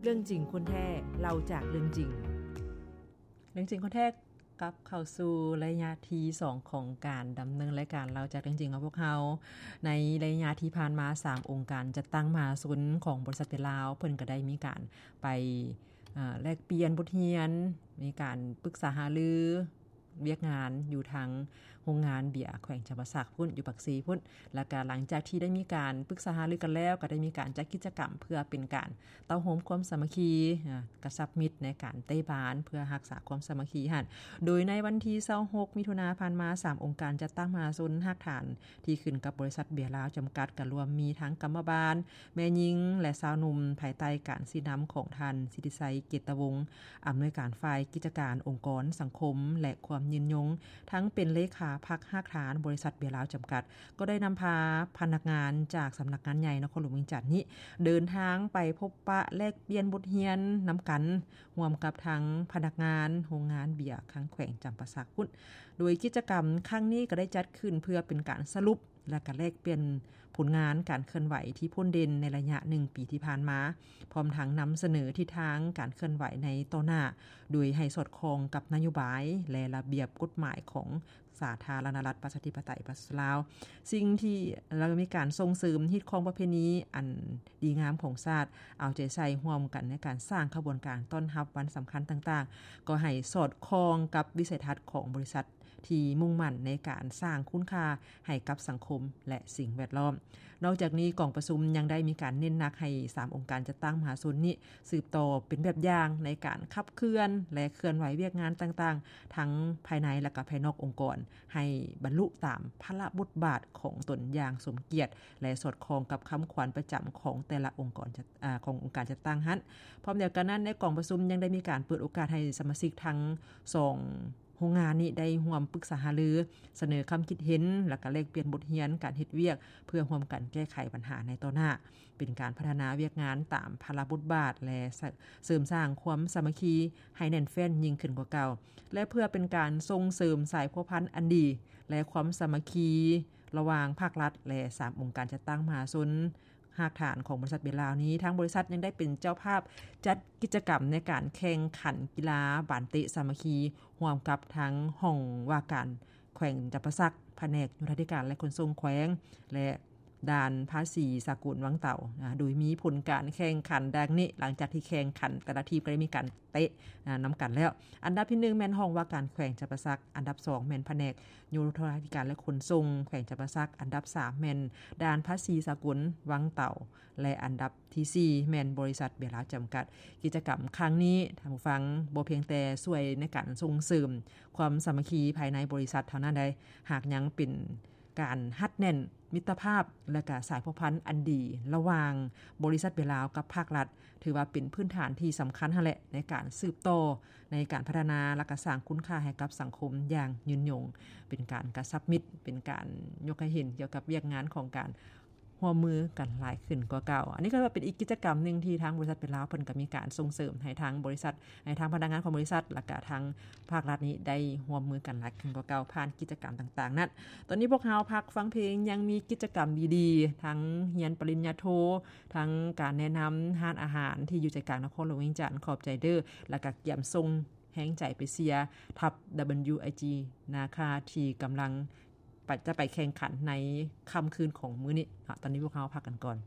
ເລື່ອງຈິງຄົນແທ້ ເລົ່າຈາກເລື່ອງຈິງ. ເລື່ອງຈິງຄົນແທ້ ກັບເຂົ້າສູ່ໄລຍະທີສອງຂອງການດຳເນີນລາຍການເລົ່າຈາກເລື່ອງຈິງຂອງພວກເຮົາ. ໃນໄລຍະທີ່ຜ່ານມາ ສາມອົງການຈັດຕັ້ງມະຫາຊົນຂອງບໍລິສັດເບຍລາວ ເພິ່ນກໍໄດ້ມີການໄປ ເອີ ແລກປ່ຽນບົດຮຽນ, ມີການປຶກສາຫາລື ວຽກງານຢູ່ທາງໂຮງງານເບຍແຂວງຈຳປາສັກພຸ້ນ ຢູ່ປາກເຊພຸ້ນ. ແລ້ວກະຫຼັງຈາກທີ່ໄດ້ມີການປຶກສາຫາລືກັນແລ້ວ ກໍໄດ້ມີການຈັດກິດຈະກຳເພື່ອເປັນການເຕົ້າໂຮມຄວາມສາມັກຄີ ອາ ກະຊັບມິດໃນການເຕະບານເພື່ອຮັກສາຄວາມສາມັກຄີຫັ້ນ. ໂດຍໃນວັນທີຊາວຫົກ ມິຖຸນາຜ່ານມາ ສາມອົງການຈັດຕັ້ງມະຫາຊົນຮາກຖານທີ່ຂຶ້ນກັບບໍລິສັດເບຍລາວຈຳກັດ ກໍລວມມີທັງກຳມະບານ, ແມ່ຍິງ ແລະ ຊາວໜຸ່ມ ພາຍໃຕ້ການຊີ້ນຳຂອງທ່ານ ສິດທິໄຊ ເກດຕະວົງ ອຳນວຍການຝ່າຍກິດຈະການອົງກອນສັງຄົມ ແລະ ຄວາມຍືນຍົງ ທັງເປັນເລຂາພັກຮາກຖານບໍລິສັດເບຍລາວຈຳກັດ ກໍໄດ້ນຳພາພະນັກງານຈາກສຳນັກງານໃຫຍ່ນະຄອນຫຼວງວຽງຈັນນີ້ ເດີນທາງໄປພົບປະແລກປ່ຽນບົດຮຽນນຳກັນ ຮ່ວມກັບທາງພະນັກງານໂຮງງານເບຍທາງແຂວງຈຳປາສັກພຸ້ນ. ໂດຍກິດຈະກຳຄັ້ງນີ້ກໍໄດ້ຈັດຂຶ້ນເພື່ອເປັນການສະຫຼຸບ ແລະ ກະແລກປ່ຽນຜົນງານການເຄື່ອນໄຫວທີ່ພົ້ນເດັ່ນໃນໄລຍະໜຶ່ງປີທີ່ຜ່ານມາ, ພ້ອມທັງນຳສະເໜີທິດທາງການເຄື່ອນໄຫວໃນຕໍ່ໜ້າ, ໂດຍໃຫ້ສອດຄ່ອງກັບນະໂຍບາຍ ແລະ ລະບຽບກົດໝາຍຂອງສາທາລະນະລັດ ປະຊາທິປະໄຕ ປະຊາຊົນລາວ. ສິ່ງທີ່ ແລະ ມີການສົ່ງເສີມຮີດຄອງປະເພນີອັນດີງາມຂອງຊາດ, ເອົາໃຈໃສ່ຮ່ວມກັນໃນການສ້າງຂະບວນການຕ້ອນຮັບວັນສຳຄັນຕ່າງໆ, ກໍໃຫ້ສອດຄ່ອງກັບວິໄສທັດຂອງບໍລິສັດ ທີ່ມຸ່ງໝັ້ນໃນການສ້າງຄຸນຄ່າໃຫ້ກັບສັງຄົມ ແລະ ສິ່ງແວດລ້ອມ. ນອກຈາກນີ້, ກອງປະຊຸມຍັງໄດ້ມີການເນັ້ນໜັກໃຫ້ສາມອົງການຈັດຕັ້ງມະຫາຊົນນີ້ ສືບຕໍ່ເປັນແບບຢ່າງໃນການຂັບເຄື່ອນ ແລະ ເຄື່ອນໄຫວວຽກງານຕ່າງໆ ທັງພາຍໃນ ແລະ ກະພາຍນອກອົງກອນ ໃຫ້ບັນລຸຕາມພາລະບົດບາດຂອງຕົນຢ່າງສົມກຽດ ແລະ ສອດຄ່ອງກັບຄຳຂວັນປະຈຳຂອງແຕ່ລະອົງກອນຈັດ ອາ ຂອງອົງການຈັດຕັ້ງຫັ້ນ. ພ້ອມດຽວກັນນັ້ນ, ໃນກອງປະຊຸມຍັງໄດ້ມີການເປີດໂອກາດໃຫ້ສະມາຊິກທັງສອງ ໂຮງງານນີ້ໄດ້ຮ່ວມປຶກສາຫາລື, ສະເໜີຄຳຄິດເຫັນ ແລະ ກະແລກປ່ຽນບົດຮຽນການເຮັດວຽກ ເພື່ອຮ່ວມກັນແກ້ໄຂບັນຫາໃນຕໍ່ໜ້າ, ເປັນການພັດທະນາວຽກງານຕາມພາລະບົດບາດ ແລະ ເສີມສ້າງຄວາມສາມັກຄີໃຫ້ແໜ້ນແຟ້ນຍິ່ງຂຶ້ນກວ່າເກົ່າ ແລະ ເພື່ອເປັນການສົ່ງເສີມສາຍພົວພັນອັນດີ ແລະ ຄວາມສາມັກຄີລະຫວ່າງພາກລັດ ແລະ ສາມອົງການຈັດຕັ້ງມະຫາຊົນ ຮາກຖານຂອງບໍລິສັດເບຍລາວນີ້, ທາງບໍລິສັດຍັງໄດ້ເປັນເຈົ້າພາບຈັດກິດຈະກຳໃນການແຂ່ງຂັນກິລາບານເຕະສາມັກຄີ ຮ່ວມກັບທາງຫ້ອງວ່າການແຂວງຈຳປາສັກ, ພະແນກໂຍທາທິການ ແລະ ຂົນສົ່ງແຂວງ ແລະ ດ່ານພາສີສາກົນວັງເຕົາ, ໂດຍມີຜົນການແຂ່ງຂັນດັ່ງນີ້. ຫຼັງຈາກທີ່ແຂ່ງຂັນ, ແຕ່ລະທີມກໍໄດ້ມີການ ເຕະນຳກັນແລ້ວ. ອັນດັບທີໜຶ່ງແມ່ນຫ້ອງວ່າການແຂວງຈຳປາສັກ, ອັນດັບສອງແມ່ນພະແນກໂຍທາທິການ ແລະ ຂົນສົ່ງແຂວງຈຳປາສັກ, ອັນດັບສາມແມ່ນດ່ານພາສີສາກົນວັງເຕົາ ແລະ ອັນດັບທີສີ່ແມ່ນບໍລິສັດເບຍລາວຈຳກັດ. ກິດຈະກຳຄັ້ງນີ້, ທ່ານຜູ້ຟັງ, ບໍ່ພຽງແຕ່ຊ່ວຍໃນການສົ່ງເສີມຄວາມສາມັກຄີພາຍໃນບໍລິສັດເທົ່ານັ້ນໃດ, ຫາກຍັງເປັນ ການຮັດແໜ້ນມິດຕະພາບ ແລະ ກະສາຍພົວພັນອັນດີລະຫວ່າງບໍລິສັດເບຍລາວກັບພາກລັດ, ຖືວ່າເປັນພື້ນຖານທີ່ສຳຄັນຫັ້ນແຫຼະ ໃນການສືບຕໍ່ໃນການພັດທະນາ ແລະ ກະສ້າງຄຸນຄ່າໃຫ້ກັບສັງຄົມຢ່າງຍືນຍົງ, ເປັນການກະຊັບມິດ, ເປັນການຍົກໃຫ້ເຫັນກ່ຽວກັບວຽກງານຂອງການຮ່ວມມືກັນຫຼາຍຂຶ້ນກວ່າເກົ່າ. ອັນນີ້ກໍເປັນອີກກິດຈະກຳໜຶ່ງທີ່ທາງບໍລິສັດເບຍລາວເພິ່ນກໍມີການສົ່ງເສີມໃຫ້ທາງບໍລິສັດ ໃຫ້ທາງພະນັກງານຂອງບໍລິສັດ ແລະກະທາງພາກລັດນີ້ໄດ້ຮ່ວມມືກັນຫຼາຍຂຶ້ນກວ່າເກົ່າ ຜ່ານກິດຈະກຳຕ່າງໆນັ້ນ. ຕອນນີ້ພວກເຮົາພັກຟັງເພງ, ຍັງມີກິດຈະກຳດີໆ ທັງຮຽນປະລິນຍາໂທ, ທັງການແນະນຳຮ້ານອາຫານທີ່ຢູ່ໃຈກາງນະຄອນຫຼວງວຽງຈັນ, ຂອບໃຈເດີ້, ແລະກະກຽມສົ່ງແຮງໃຈໄປເຊຍທັບ WIG ນາຄາ ທີ່ກຳລັງ ໄປ ຈະໄປແຂ່ງຂັນໃນຄ່ຳຄືນຂອງມື້ນີ້ເນາະ. ຕອນນີ້ພວກເຮົາພັກກັນກ່ອນ.